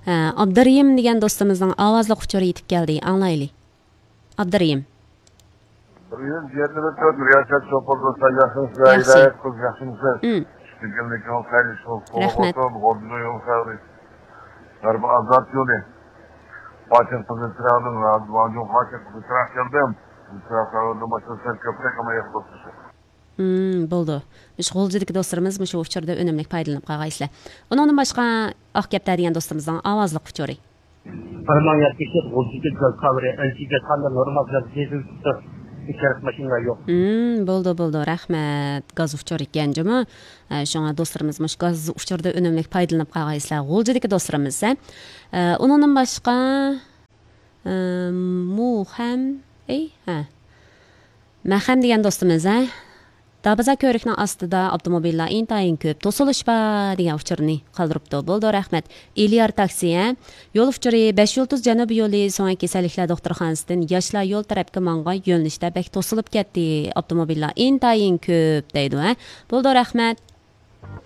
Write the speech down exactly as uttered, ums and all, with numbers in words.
ئابدۇرېھىم دېگەن دوستىمىزنىڭ ئاۋازلىق ئۇچۇرى يېتىپ كەلدى، ئاڭلايلى. ئابدۇرېھىم. بىر يۈز يىگىرمە تۆت رىياسەت شوپۇر دوستلار، ياخشىمىسىلەر؟ ياخشى. ھىدايەت قىز، ياخشىمىسىز؟ ئىم. چۈشكەنلىكىڭىز خەيرلىك بولسۇن. رەھمەت. غۇلجىنىڭ يول خەۋىرى. غەربىي ئازاد يولى. پاچىن قىزىل چىراغدىن، ۋاجۇن پاچىن قىزىل چىراغ كەلدىم. قىزىل چىراغ خەۋىرىدىن باشلىسام كۆپرەك ئەمەلىيەت قىلىپ. ئىم، بولدى. مۇشۇ غۇلجىدىكى دوستلىرىمىز مۇشۇ ئۇچۇردا ئۈنۈملۈك پايدىلىنىپ قالغايسىلەر. ئۇنىڭدىن باشقا ئاق كەپتەر دېگەن دوستىمىزنىڭ ئاۋازلىق ئۇچۇرى. بىر مىڭ يەتمىش تۆت غۇلجىدىكى گاز خەۋىرى، ئەنچۈكە قانداق نورمال گاز دېزىل چىقتى. ئىچەرىك ماشىنىلار يوق. ئىم، بولدى، بولدى، رەھمەت. گاز ئۇچۇرى ئىكەن جۇمۇ. ئە، شۇڭا دوستلىرىمىز مۇشۇ گاز ئۇچۇرىدا ئۈنۈملۈك پايدىلىنىپ قالغايسىلەر. غۇلجىدىكى دوستلىرىمىز، ھە. ئە، ئۇنىڭدىن باشقا، ئە، مۇخەم، ئەي، ھە. مەخەم دېگەن دوستىمىز، ھە. دابازا كۆۋرۈكنىڭ ئاستىدا ئاپتوموبىللار ئىنتايىن كۆپ، توسۇلۇش بار دېگەن ئۇچۇرنى قالدۇرۇپتۇ. بولدى، رەھمەت. ئېلىيار تاكسى، ھە. يول ئۇچۇرى بەش يۇلتۇز جەنۇبىي يولى سۆڭەك كېسەللىكلەر دوختۇرخانىسىدىن ياشلار يول تەرەپكە ماڭغان يۆنىلىشتە بەك توسۇلۇپ كەتتى. ئاپتوموبىللار ئىنتايىن كۆپ دەيدۇ، ھە. بولدى، رەھمەت.